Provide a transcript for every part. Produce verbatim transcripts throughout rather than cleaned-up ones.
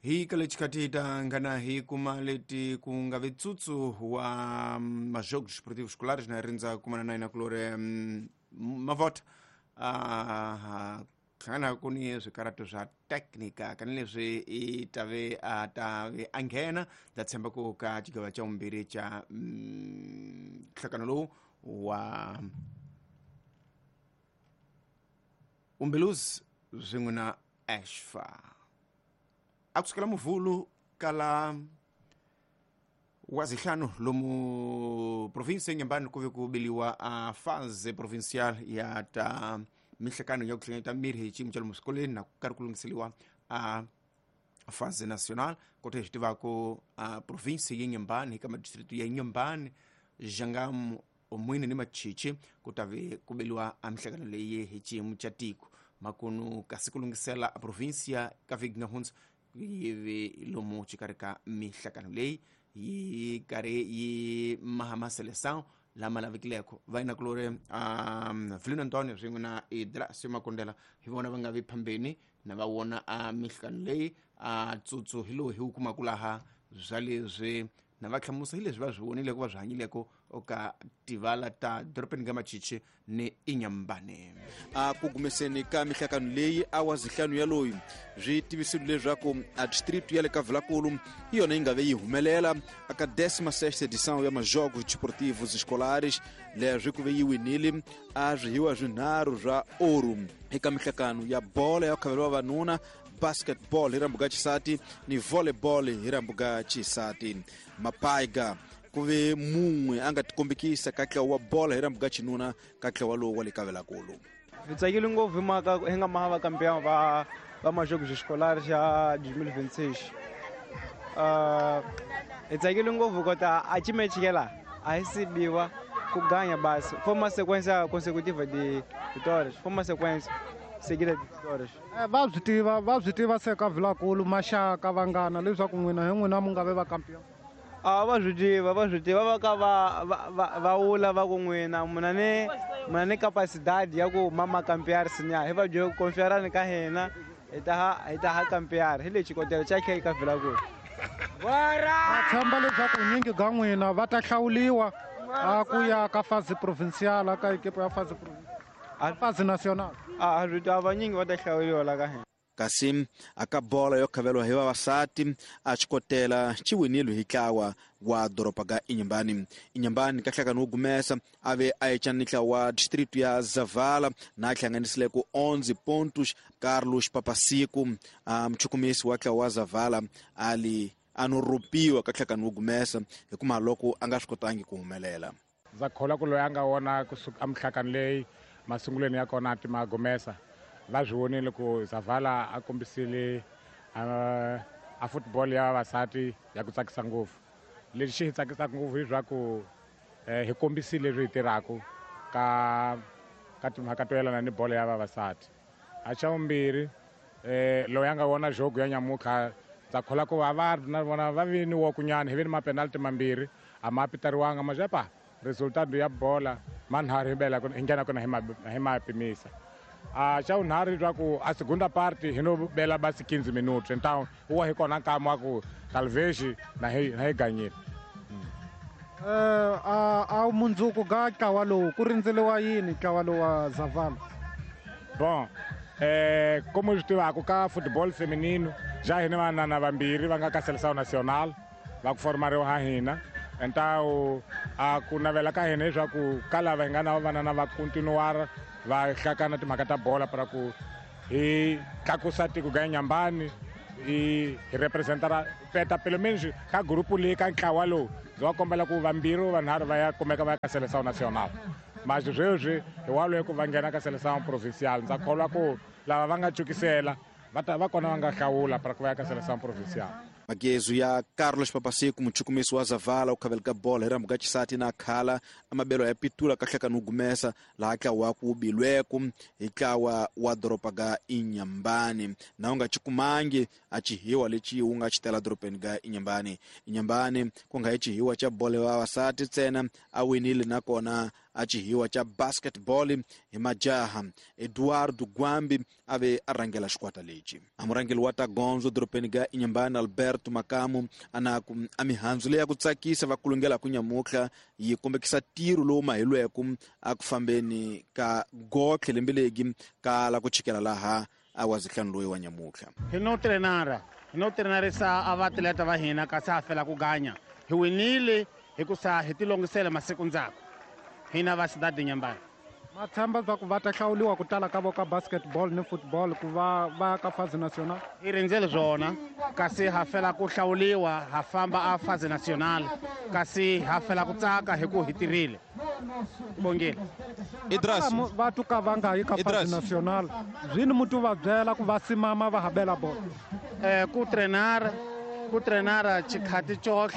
Hi ka lexikati ta ngana hi kuma leti ku nga vetsutsu wa majogos esportivos escolares na rindza kumana na ina kulore mavota a hlangana ku ni swikarato swa teknika kanileswi i tave a tave a nghena ndza tshemba ku ka xigava xa vumbirhi xa nhlangano lowu wa Umbeluzi swin'we na Ashfa a kusukela muvhulu kala wa zihlanu lomu province Inhambane ku ve ku biliwa a fase provincial ya ta mihlekano ya ku hlengeta mirhi hi xiyimo xa lomu swikolweni na ku karhi ku lunghiseliwa a fase national kota hi swi tivaka a province ya Inhambane hi ka madistritu ya Inhambane, Jangamo, Omwini ni Machichi ku ta ve ku beliwa a mihlekano leyi hi xiyimo xa tiko makunu kasi ku lunghisela a provincia ka vhiki nga hundza yi ve lomu xikarhi ka mihlekano leyi yi karhi yi maha maseleção lama lavekileko va ina kulore um Vilino Antonio swin'we na Idrasio Makondela hi vona va nga vi phambeni na va wona a mihlekano leyi a tsutsu hi lowu hi wu kumaka laha bya leswi na va hlamusa hi leswi va swi vonileko va swi hanyileko ka tivala ta dorobeni ka Machichi ni Inhambane. A ku gumeseni ka mihlakano leyi a wa zihlanu ya loyi swi tivisile leswaku a distrito ya le ka Vilakulu hi yona yi nga ve yi humelela aka décima sexta edição ya majogos desportivos escolares leswi ku ve yi winile a swihiwa swinharhu swa ouro eka mihlakano ya bola ya khavelo vavanuna, basketball hi rambuka xisati ni volleyball hi rambuka xisati. Mapaiga ku ve mun'we a nga tikombekisa ka ntlawa wa bola hi rambuka xinuna ka ntlawa lowu wa le ka Vilakulu. Hi tsakile ngopfu hi mhaka hi nga maha va campeão va va majogos escolares ya dois mil e vinte e seis. Uh, hi tsakile ngopfu kota a chimechikela a hi sibiwa ku ganha basi. Foi uma sequência consecutiva de vitórias, foi uma sequência seguida de vitórias. Va swi tiva va swi tiva se ka Vilakulu maxaka vanghana leswaku n'wina hi n'wina mu nga ve va campeão. A va swi tiva va swi tiva va ka va va va wula va ku n'wina muna ni muna ni capacidade ya ku mama campear sinya hi va byo confiarani ka hina hi ta ha hi ta ha campear hi lexi xikotela xa khe ka Vilakulu. Va tshemba leswaku nyingi ga n'wina va ta hlawuliwa a ku ya ka fase provincial ka equipe ya fase provincial fase national. A swi tiva vanyingi va ta hlawuliwa la ka hina. Kasi aka bola yo khavelwa hi vavasati a xikotela xi winile hi ntlawa wa doroba ga Inhambane. Inhambane ka nhlangano wo gumesa a ve a ecana ni ntlawa wa distrito ya Zavala na hlanganisile ku onze pontos. Carlos Papasiku a muchukumisi wa ntlawa wa Zavala ali a no ropiwa ka nhlangano wo gumesa hikuva loko a nga swi kotangi ku humelela. Ndza kholwa ku loyi a nga wona kusuka emihlakano leyi masungulweni ya kona ti magumesa va swi vonile ku Zavala a kombisile a football ya vavasati ya ku tsakisa ngopfu. Lexi xi hi tsakisaka ngopfu hi swa ku hi kombisile leswi hi tirhaka ka ka timhaka to yelana ni bolo ya vavasati. A xa vumbirhi loyi a nga vona jogo ya nyamutlha ndza kholwa ku va va na vona va vi ni wokunyana hi vi ni mapenalty mambirhi a ma pitariwanga mazhepa resultado ya bola manharhu hi bela hi nghena kona hi ma hi ma pimisa. A xa vunharhu leswaku a segunda parte hi no bela basi quinze minutos então wa hi kona nkama wa ku talvez na hi na hi ganyile. Eh a a mundzuku ga ntlawa lowu ku rindzeliwa yini ntlawa lowu wa Zavala? Bon eh como swi tivaka ka football feminino ja hina vanana vambirhi va nga ka seleção nacional va ku formariwa ha hina. Então a ku navela ka hina leswaku ka lava hi nga na vanana va continuar va hlakana timhaka ta bola para ku hi tlakusa tiko ga Inhambane hi hi representara peta pelo menos ka grupo leyi ka ntlawa lowu ndzi va kombela ku vambirhi vanharhu va ya kumeka va ya ka seleção nacional. Mas sweswi hi wa loyi ku va nghena ka seleção provincial ndza kholwa ku lava va nga cukisela va ta va kona va nga hlawula para ku va ya ka seleção provincial. Magezu ya Carlos Papasiku muchukumisi wa Zavala u khaveleka ka bola hi rambuka xisati na khala amabelo ya pitula ka hlakano wo gumesa laha ntlawa ku bilweku hi ntlawa wa doroba ga Inhambane na u nga xikumangi a xihiwa lexi wu nga xitela dorobeni ga Inhambane. Inhambane ku nga hi xihiwa xa bola ya vavasati ntsena a winile nakona a xihiwa xa basketball hi majaha. Eduardo Gwambi a ve a rhangela xikwata lexi. A murhangeri wa ta gondzo dorobeni ga Inhambane Alberto Makamu ana ku a mihandzu leyi ya ku tsakisa va kulungela ku nyamutlha yi kombekisa tiro lowu mahilweke a ku fambeni ka gotlhe lembe legi ka la ku chikela laha a wa zihlanu loyi wa nyamutlha. Hi no trenara hi no trenarisa a vaatleta va hina kasi ha fela ku ganya hi winile hi ku sa hi tilongisela masiku ndzhaku hina va Cidade de Inhambane. Ma tshemba swa ku va ta hlawuriwa ku tala ka vo ka basketball ni football ku va va ka phase national? Hi rindzele swona kasi ha fela ku hlawuriwa ha famba a phase national kasi ha fela ku tsaka hi ku hi tirhile. Bongile. Idras va tuka va nga yi ka phase national zwini mutu va byela ku va simama va habela bolo. Eh ku trenar ku trenara xikhati cohle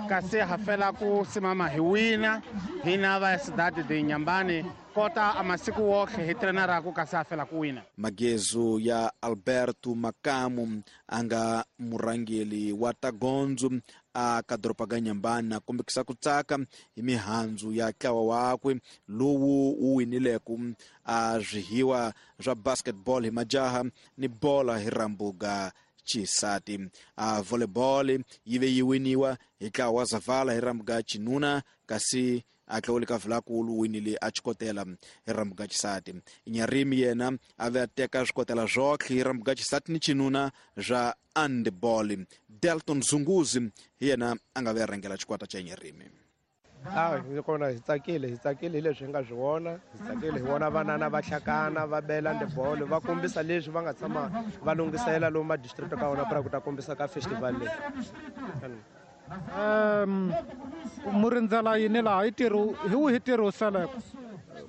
kasi ha fela ku simama hi wina hina va Cidade de Inhambane kota a masiku wohle hi trenaraku kasi ha fela ku wina. Magezo ya Alberto Makamu a nga murhangeri wa ta gondzo a ka doroba ga Inhambane a kombekisa ku tsaka hi mihandzu ya ntlawa wakwe lowu wu winileke a swihiwa swa basketball hi majaha ni bola hi rambuga xisati. A volleyball yi ve yi winiwa hi ntlawa wa Zavala hi rambuga xinuna kasi a tlawule ka Vilakulu winile a xikotela hi rambuga xisati. Nyarimi yena a ve a teka swikotela swotlhe hi rambuga xisati ni xinuna swa handball. Delton Zunguzi hi yena a nga ve a rhangela xikwata xa Nyarimi. A hi kona hi tsakile hi tsakile hi leswi hi nga swi vona hi tsakile hi vona vanana va hlakana va bela handball va kombisa leswi va nga tshama va lunghisela lomu ma district ka wona pra ku ta kombisa ka festival leyi. Um mu rindzela yini laha hi ntirho hi wihi ntirho wu seleke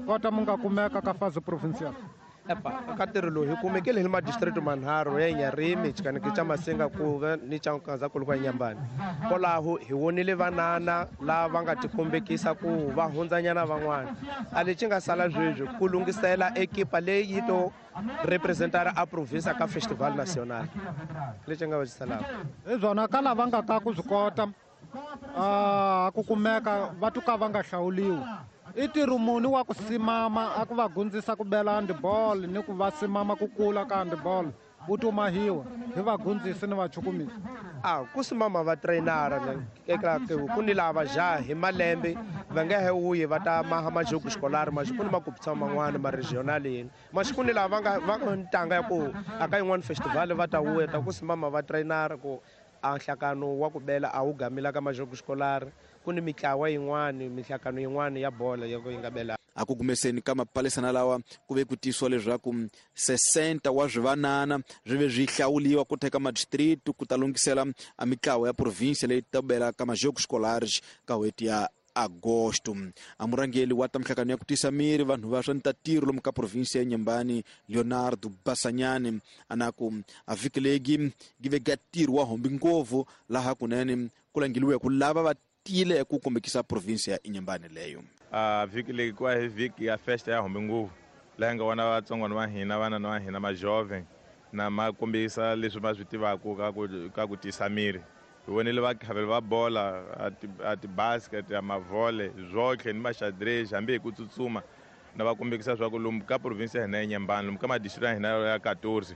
kota mu nga kumeka ka phase provincial? Epa ka ntirho lowu hi kumekile hi ma district manharhu ya Nyarimi xikaneke xa Masinga kuve ni xa Nkazankulu kwa Inhambane. Kwalaho hi vonile vanana lava nga tikombekisa ku va hundzanyana van'wana. A lexi nga sala sweswi ku lunghisela ekipa leyi yi to representara a province ka festival national lexi nga va xi salaka. Hi byona ka lava nga ka ku swi kota a ku kumeka va tuka va nga hlawuliwi i ntirho muni wa ku simama a ku va gundzisa ku bela handball ni ku va simama ku kula ka handball wu tumahiwa hi vagundzisi ni vachukumisi? A ku simama va trainara eka ku ni lava jaha hi malembe va nga he wuyi va ta maha majoku xikolari maxiku ni makupisa man'wana ma regional yini maxiku ni lava va nga va nga ntanga ya ku aka yin'wana festival va ta wuya ta ku simama va trainara ku a nhlakano wa ku bela a wu gamila ka majoku xikolari ku ni mitlawa yin'wana mihlakano yin'wana ya bola ya ku yi nga bela. A ku kumeseni ka mapalisana lawa ku ve ku tisiwa leswaku sesenta wa swivanana swi ve swi hlawuliwa ku teka madistrict ku ta lunghisela a mitlawa ya province leyi ta bela ka majoku scolares ka n'hweti ya agosto. A murhangeri wa ta mihlakano ya ku tisa miri vanhu va swa ntatiro lomu ka province ya Inhambane Leonardo Basanyane ana ku a vhiki legi gi ve ga ntirho wa hombi ngopfu laha kunene ku langeliwe ku lava va tile ku kombekisa province ya Inhambane leyo. A vhiki leyi ku hi vhiki ya festa ya hombi ngopfu laha nga vona vatsongwana va hina vana va hina ma jovem na ma kombisa leswi va swi tivaka ka ku ka ku tisa miri. Hi vonile vakhaveli va bola a ti-basket a mavhole zwotlhe ni maxadrez hambi hi ku tsutsuma na va kombekisa swa ku lomu ka province ya hina ya Inhambane lomu ka madistrict ya hina ya quatorze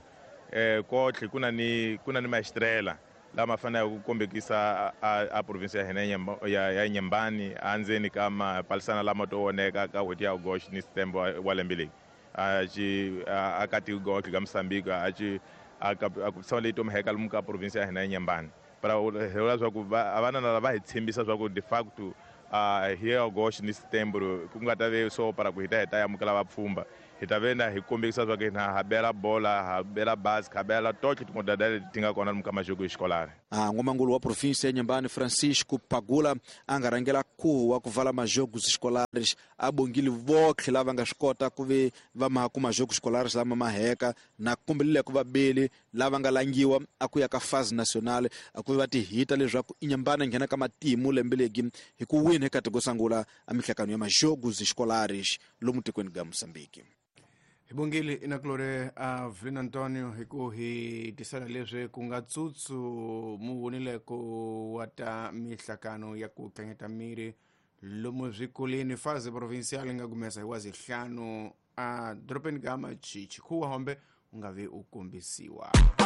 eh kotlhe ku na ni ku na ni maestrela lama faneleke ku kombekisa a, a province ya hina ya ya Inhambane andzeni ka mapalisana lama to voneka ka n'hweti ya August ni September wa lembe leyi a xi a ka tigotlhe ka Mozambique a xi a ka ku leyi to mheka lomu ka province ya hina ya Inhambane. Para hi vula swa ku vanana lava hi tshembisa swa ku de facto a hi August ni September ku nga ta ve so para ku hi ta hi ta amukela vapfhumba hi ta ve na hi kombekisa swa ku hina ha bela bola ha bela basket ha bela totlhe timodada leti ti nga kona lomu ka majoko xikolari. A n'wamangulu wa province ya Inhambane Francisco Pagula a nga rhangela khuvo wa ku vala majoko xikolares a bongile votlhe lava nga swi kota ku ve va maha ku majoko xikolares lama maheka na kombelile ku vabeli lava nga langiwa a ku ya ka phase nationale a ku va ti hita leswaku Inhambane nghena ka matimu lembe legi hi ku wina eka tiko sangula a mihlakano ya majoko xikolares lomu tikweni ga Mozambique. Hi bongile inakulore a Vlin Antonio hi ku hi tisela leswi ku nga tsutsu mu vonile ku wa ta mihlakano ya ku tlangeta miri Lomu swikolweni fase provincial nga kumesa hi wa zihlanu a dorobeni ka Machichi khuwa hombe u nga vi u kombisiwa.